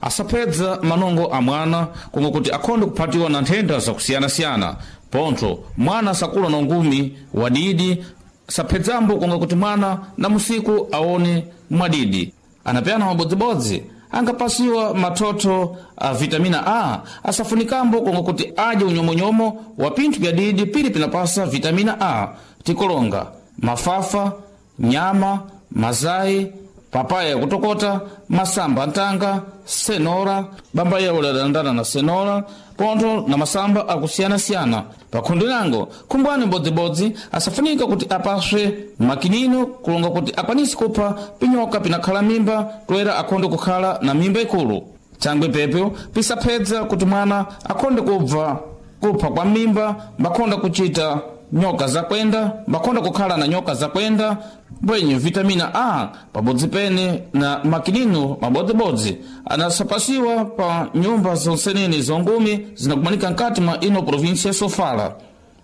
Asapedza manongo a mwana komwe kuti akhonde kuphatiwa na nthenda zakusiyanasiyana. Pontho mwana sakula na ungumi wadidi, saphedzambo konga kuti mwana na musiku aone mwadidi. Anapeyana mabodzibodzi angapasiwa mathotho a vitamina A, asafunikambo konga kuti adye unyomonyomo wa pinthu pyadidi pili pinapasa vitamina A, tikolonga mafafa, nyama, mazayi, papaya yakutokota, masamba antanga, senora, bamba yawo ladandana na senora, pontho na masamba akusiyanasiyana. Pakhundi lango khumbwani mbodzibodzi asafunika kuti apaswe makinino kulonga kuti akwanise kupha pinyoka pinakhala mimba toera akhonde kukhala na mimba ikulu. Thangwi pepyo pisaphedza kuti mwana akhonde kubva kupha kwa mimba, mbakhonda kuchita nyoka zakwenda, mbakhonda kukhala na nyoka zakwenda. Mbwenye vitamina A pabodzi pene na makinino mabodzibodzi anasapasiwa pa nyumba zonsenene zongumi zinakumanika nkati mwa ino provinsia ya Sofala.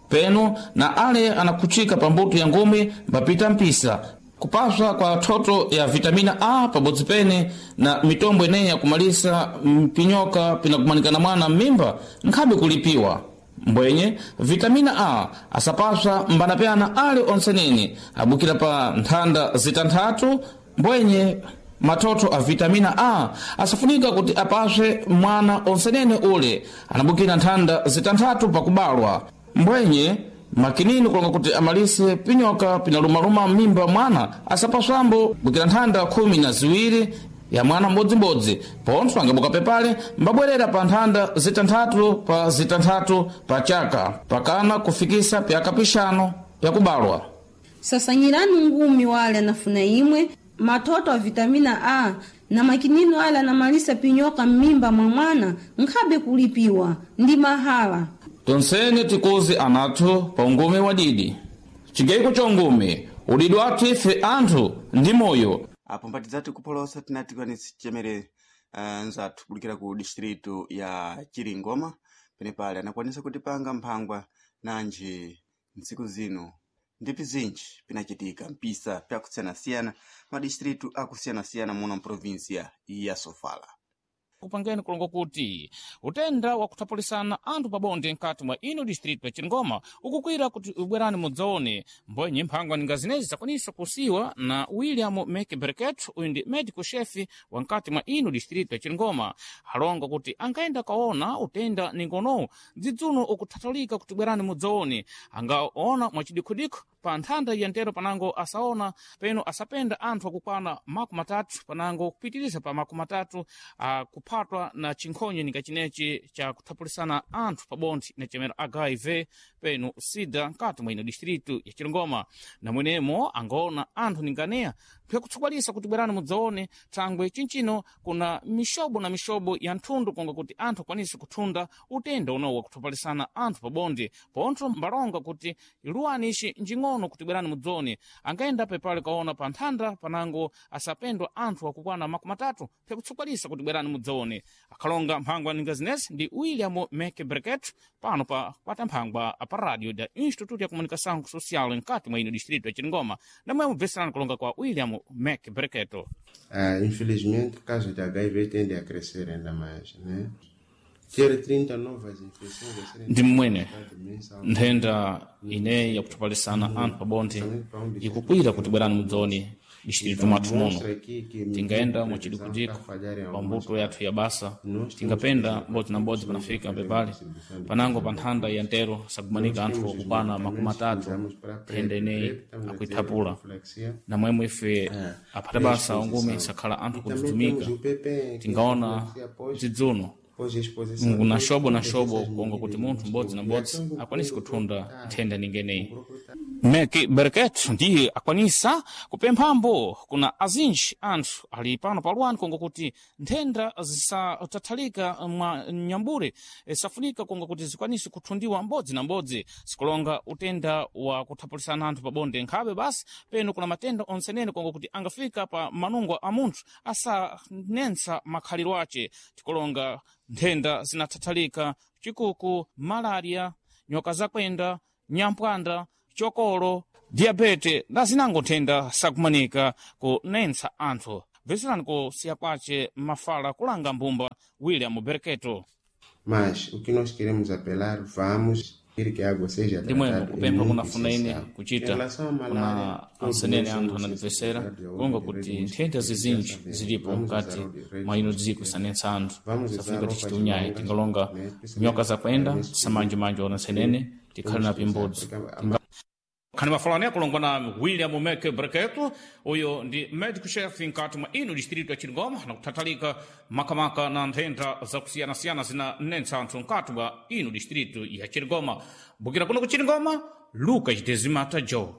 Peno na ale anakhuchika pa mbuto ya ngumi mbapita mpisa kupaswa kwa thoto ya vitamina A pabodzi pene na mitombo ineyi yakumalisa mpinyoka pinakumanikana mwana m'mimba nkhabe kulipiwa. Mbwenye vitamina A asapaswa mbanapyana ali onsenene abukira pa nthanda zitanthatu. Mbwenye mathotho a vitamina A asafunika kuti apaswe mwana onsenene ule anabukira nthanda zitanthatu pakubalwa. Mbwenye makinini kulonga kuti amalise pinyoka pinalumaluma m'mimba mwana asapaswambo bukira nthanda 12 ya mwana mbodzimbodzi. Pontho angabuka pepale mbabwerera pa nthanda zitanthatu pa zitanthatu pa chaka pakana kufikisa pyaka pixano pyakubalwa. Sasanyirani ngumi wale anafuna imwe mathoto a vitamina A na makinino ale anamalisa pinyoka m'mimba mwa mwana nkhabe kulipiwa ndi mahala. Tonsene tikuzi anathu pa ungumi wadidi. Chigaiko cha ungumi udidi wathu ife anthu ndi moyo. Apo mpatidzati kupholosa tinati kwanisi chemere nzathu kulikira ku distritu ya Chiringoma, penepale anakwanisa kutipanga mphangwa nanji ntsiku zino ndipi zinji pinachitika mpisa pyakusiyanasiyana madistritu akusiyanasiyana muno mprovinsia ya Sofala. Kupangeni kulongo kuti utenda wakuthapulisana anthu pabonde nkati mwa ino distritu ya Chiringoma ukukwira kuti ubwerani mudzaone. Mbwenye mphangwa ninga zinezi zakwanisa kusiwa na William Mcberket, uyu ndi medical chef wa nkati mwa ino distritu ya Chiringoma. Alonga kuti angaenda kaona utenda ningonowu dzidzuno ukuthathalika kuti bwerani mudzaone. Angaona mwachidikhudikhu pa nthanda ya ntero panango asaona peno asapenda anthu akukwana 30 panango kupitiriza pa 30 akuphatwa na chinkhonye ninga chinechi cha kuthapulisana anthu pabonde na chemero HIV peno SIDA nkati mwa ino distritu ya Chiringoma. Namwenemo angaona anthu ninganeya pyakutsogwalisa kuti bwerani mudzaone, thangwe chinchino kuna mixobo na mixobo ya nthundu konga kuti anthu akwanise kuthunda utenda unowu wakuthapalisana anthu pabonde. Pontho mbalonga kuti luwani ici njing'ono kuti bwerani mudzaone. Angaenda pepale kaona pa nthanda panango asapendwa anthu akukwana 30 pyakutsogwalisa kuti bwerani mudzaone. Akhalonga mphangwa ninga zinezi ndi William Mcberket pano pa kwata mphangwa pa radio da Instituto ya Comunicação Social nkati mwa ino distrito ya Chiringoma. Namwe mubveserani kulonga kwa William Mcberket. Infelizmente, o caso de HIV tende a crescer ainda mais, né? Ter 30 novas infecções a serem Ndi mmwene mensalmente. nthenda ineyi yakuthapalisana anthu pabonde ikukwira kuti bwerani mudzaone distritu mwathu muno. Mostra aqui que Tingayenda medida de prevenção mwachidikhudikhu está a falhar em pa algumas mbuto yathu ya basa, Nós tingapenda temos mbodzi na mbodzi panafika pepale panango pa nthanda ya ntero sakumanika anthu temos os okukwana medicamentos makumi que atatu usamos para a PrEP. nthenda ineyi PrEP, estamos a ter akuithapula. profilaxia, Namwemwe ife aphata basa ungumi sakhala anthu E também kudzudzumika. temos o PPE, que é Tingaona profilaxia após, dzidzuno pós-exposição. na Depois xobo na todas xobo essas konga kuti medidas munthu nós mbodzi na temos. mbodzi E até akwanise o kuthunda grupo nthenda ningeneyi. o grupo tá Meki Berket ndiye akwanisa kupemphambo kuna azinji anthu ali pano paluwani konga kuti nthenda zisatathalika mwa nyambure, safunika konga kuti zikwanise kuthundiwa mbodzi na mbodzi, sikulonga utenda wa kuthapulisana anthu pabonde nkhabe basi. Peno kuna matenda onsenene konga kuti angafika pa manungo a munthu asanensa makhaliro ace, tikulonga nthenda zinathathalika chikuku, malaria, nyoka zakwenda, nyampwanda, chokolo, diabete na zinango nthenda sakumanika kunensa anthu. Bveserani kusiya kwace mafala kulanga mbumba. William Berketo. Mas o que nós queremos apelar, vamos querer que a água seja Ndimwemo tratada é kupempha muito kuna funaine essencial. Em kuchita relação à kuna malária, todos ansenene nós anthu somos anandipesera sensibilizados ao konga uso de kuti redes nthenda mosquitéras, já zizinji sabemos. zilipo Vamos mkati usar o redes mwa ino dziko mosquitéras, isanetsa anthu vamos usar safunika roupas tichite unyayi longas, tingalonga né? nyoka Principalmente zakwenda nesse período tisamanjemanje ona nsenene tikhale temos na que usar, pimbodzi. porque a Khani mafalani akulongwa na William Meke Breketo, uyo ndi medical chef nkati mwa ino distrito ya Chilingoma na kuthathalika makamaka na nthenda zakusiyanasiyana zinanetsa anthu nkati mwa ino distrito ya Chilingoma. Bukira kuno ku Chilingoma, Lucas Dezimata Joe.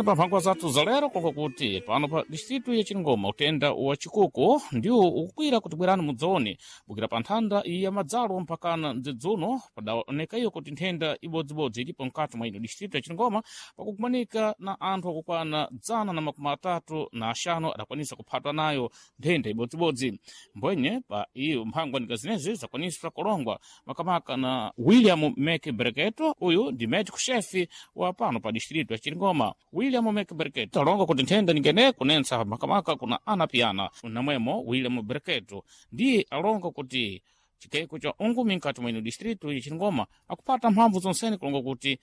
Pa mphangwa zathu za lero konga kuti pano pa distritu ya Chilingoma utenda wa chikuku ndiwo ukukwira kuti bwerani mudzaone bukira pa nthanda ya madzalo mpakana mdzidzuno padaoneka iyo kuti nthenda ibodzibodzi ilipo mkati mwa ino distritu ya Chilingoma pakukumanika na anthu akukwana 135 adakwanisa kuphatwa nayo nthenda ibodzibodzi. Mbwenye pa iyo mphangwa nika zinezi zakwanisa kulongwa makamaka na William Mek Breketo, uyu ndi medical chef wa pano pa distritu ya Chilingoma. William Mek Breketo alonga kuti nthenda ningene kunensa makamaka kuna anapiyana namwemo William Breketo ndiye alonga kuti chikeko cha ungumi mkati mwino distritu ya Chilingoma akupata mphamvu zonsene kulonga kuti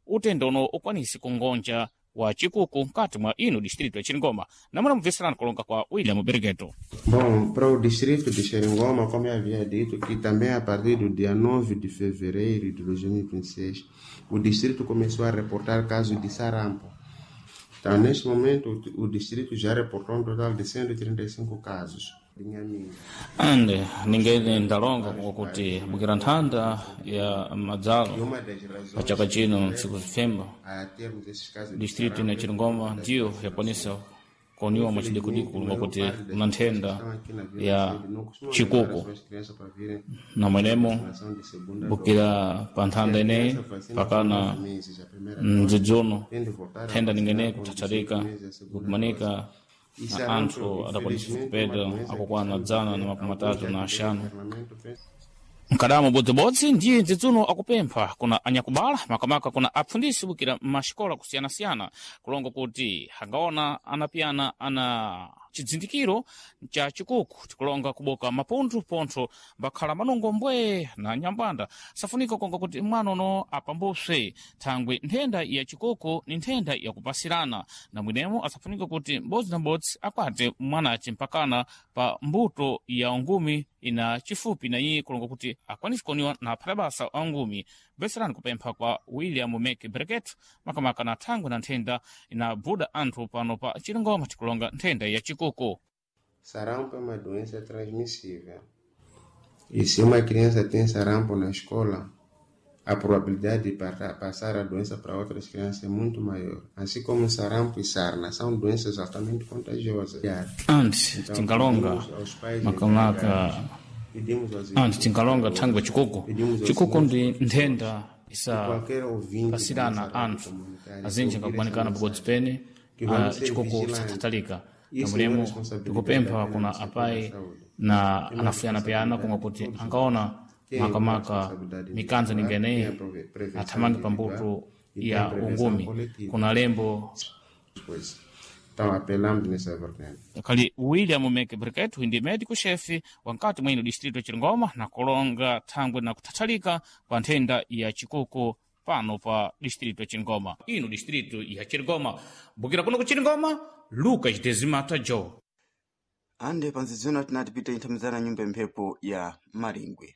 utenda uno ukwanise kungonja wa chikuku mkati mwa ino distritu ya Chilingoma. Namuna mubveserani kulonga kwa William Breketo. Bom, para o distrito de Xerengoma, como eu havia dito, que também a partir do dia 9 de fevereiro de 2026, o distrito começou a reportar casos de sarampo. Então, neste momento, o distrito já reportou um total de 135 casos. De Inhaminga. Ande ningene ndalonga kuti bukira nthanda ya E madzalo uma das razões pa chaka que chino leva ntsiku zifemba a termos esses casos de distritu sarampo ina é por Chilingoma conta das ndiyo vacinações. yakwanisa koniwa mwachidikudiku Infelizmente, a kulonga maior kuti parte das kuna pessoas que nthenda estão aqui na Vila ya Sede não costumam levar as chikuku suas crianças para virem na fazer a mwenemo vacinação de segunda dose. bukira pa Se nthanda a ineyi criança vacina com pakana 9 meses a primeira dose, mdzidzuno tem de voltar a nthenda ningene vacinar com 18 kuthatharika meses a segunda dose. kukumanika E na sarampo, anthu adakwanisa infelizmente, é uma kupeda doença que akukwana estamos a ter alguns já tiveram 135 internamento. Mkadamo bodzibodzi ndiye dzidzuno akupempha kuna anyakubala makamaka kuna apfundisi bukira maxikola kusiyanasiyana kulonga kuti angaona anapiyana ana chidzindikiro cha chikuku tikulonga kuboka mapunthu pontho mbakhala manungo mbwee na nyambanda safunika konga kuti mwana uno apambuswe thangwe nthenda ya chikuku ni nthenda yakupasirana na mwinemo asafunika kuti m'bodzi na m'bodzi akwate mwanace mpakana pa mbuto ya ungumi ina chifupi na iye kulonga kuti akwanise kuoniwa na aphalabasa a ungumi. Bveserani kupempha kwa William Mek Breket makamaka na thangwe na nthenda inabuda anthu pano pa Chilingoma tikulonga nthenda ya chikuku. Sarampo é uma doença transmissível. E se uma criança tem sarampo na escola, a probabilidade de passar a doença para outras crianças é muito maior. Assim como sarampo e sarna são doenças altamente contagiosas. Anti Então, tingalonga pedimos aos pais makamaka encarregados, pedimos aos anti tingalonga thangwe chikuku pedimos aos chikuku senhores ndi professores nthenda e isa qualquer ouvinte da nossa pasirana rádio anthu comunitária que azinji ouvir essa angakumanikana pabodzi mensagem, pene que vamos ser chikuku vigilantes. chathathalika Isso não é namulemo responsabilidade tikupempha apenas kuna do setor da apai saúde. na É uma anafuyana-piyana responsabilidade kunga de kuti todos nós. angaona Tem a makamaka responsabilidade mikanza individual, tem ningeneyi a prevenção athamange individual pambuto e tem a ya prevenção ungumi coletiva. kuna lembo Pois. Então apelamos nessa vertente. kali William Mek Briket ndi medico chef wankati mwino distrito ya Chilingoma na kulonga thangwe na kuthathalika pa nthenda ya chikuku pano pa distrito ya Chilingoma. Ino distrito ya Chilingoma bukira kuno ku Chilingoma, Lucas Dezimata Joe. Ande panzidzino tinati pita inthamizana nyumba mphepo ya Maringwe.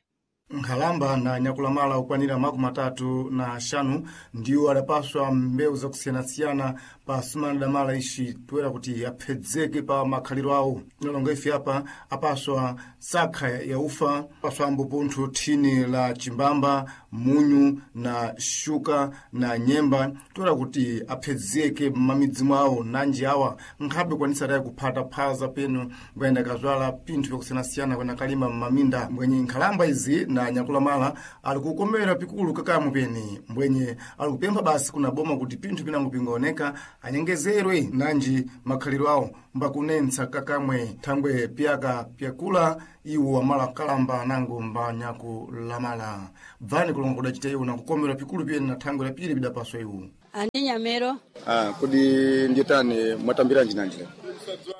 Nkhalamba na nyakulamala okwanira 35 ndiwo adapaswa mbewu zakusiyanasiyana pa sumana damala ixi toera kuti aphedzeke pa makhaliro awo. Tinalonga ife apa apaswa sakha ya ufa, apaswa ambo pontho thini la chimbamba, munyu na shuka na nyemba toera kuti aphedzeke m'mamidzi mwawo nanji awa nkhabe kwanisa tayi kuphata phaza peno kuyenda kazwala pinthu pyakusiyanasiyana kuyenda kalima m'maminda. Mbwenye nkhalamba izi na nyakulamala ali kukomera pikulu kakamwe pene mbwenye ali kupempha basi kuna boma kuti pinthu pinango pingaoneka anyengezerwe nanji makhaliro awo mbakunentsa kakamwe thangwe piyaka pyakula iwo amala kalamba nango mbanyakulamala. Bvani kulonga kudacita iwo na kukomera pikulu pene na thangwe la pili pidapaswa iwo. Andi Nyamero. Ah, kodi ndiyetani mwatambira njinanji lero?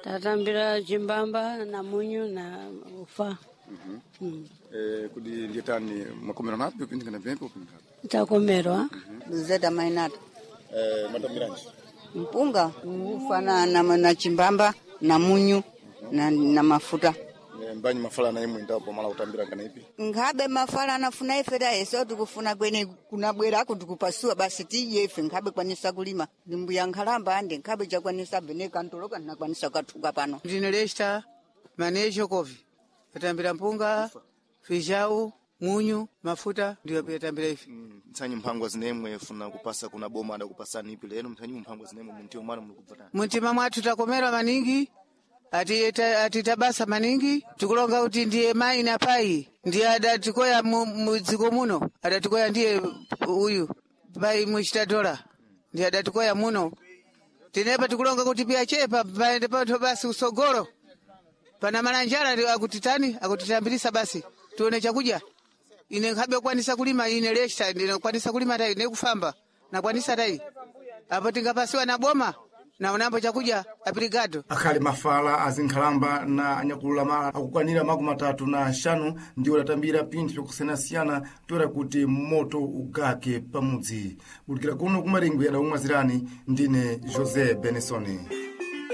Tatambira chimbamba na munyu na ufa. Kodi ndiyetani mwakomerwa napi upindikana vyempe upindikana? Takomerwa. Zeta mainata. Mwatambiranji? Mpunga ufa na chimbamba na munyu na mafuta. Mbanyi mafala na imwe ndapo mala utambira ngana ipi? Nkhabe mafala anafuna ife tayeso tikufuna kwene kunabwerako tikupasua basi tiye ife nkhabe kwanisa kulima. Ndimbuya nkhalamba ande nkhabe chakwanisa bene kantoloka nakwanisa kathuka pano. Ndine Lesta Manejo Kovi. Patambira mpunga, fijau, munyu, mafuta ndiyo patambira ife. Mtsanyi mphangwa zinemwe funa kupasa kuna boma ada kupasani ipi lero mtsanyi mphangwa zinemwe muntiyo mwana mulikubvatani. Muntima mwathu takomerwa maningi ati tabasa maningi tikulonga kuti ndiye mai na pai ndiye adatikoya mudziko muno adatikoya ndiye uyu pai muchitadola ndiye adatikoya muno tinepa tikulonga kuti piyachepa paende pathu basi usogolo pana malanjala ndi akutitani akutitambirisa basi tione chakudya ine nkhabe kukwanisa kulima ine lesta ndinakwanisa kulima tayi nekufamba nakwanisa tayi apo tingapasiwa na boma naonambo chakudya apirigado Akhali mafala azinkhalamba na anyakulamala akukwanira 35 ndiwo adatambira pinthu lyakusiyanasiyana toera kuti moto ugake pamudzi. Kulikira kuno kumaringwe adakumwazirani ndine José Benison.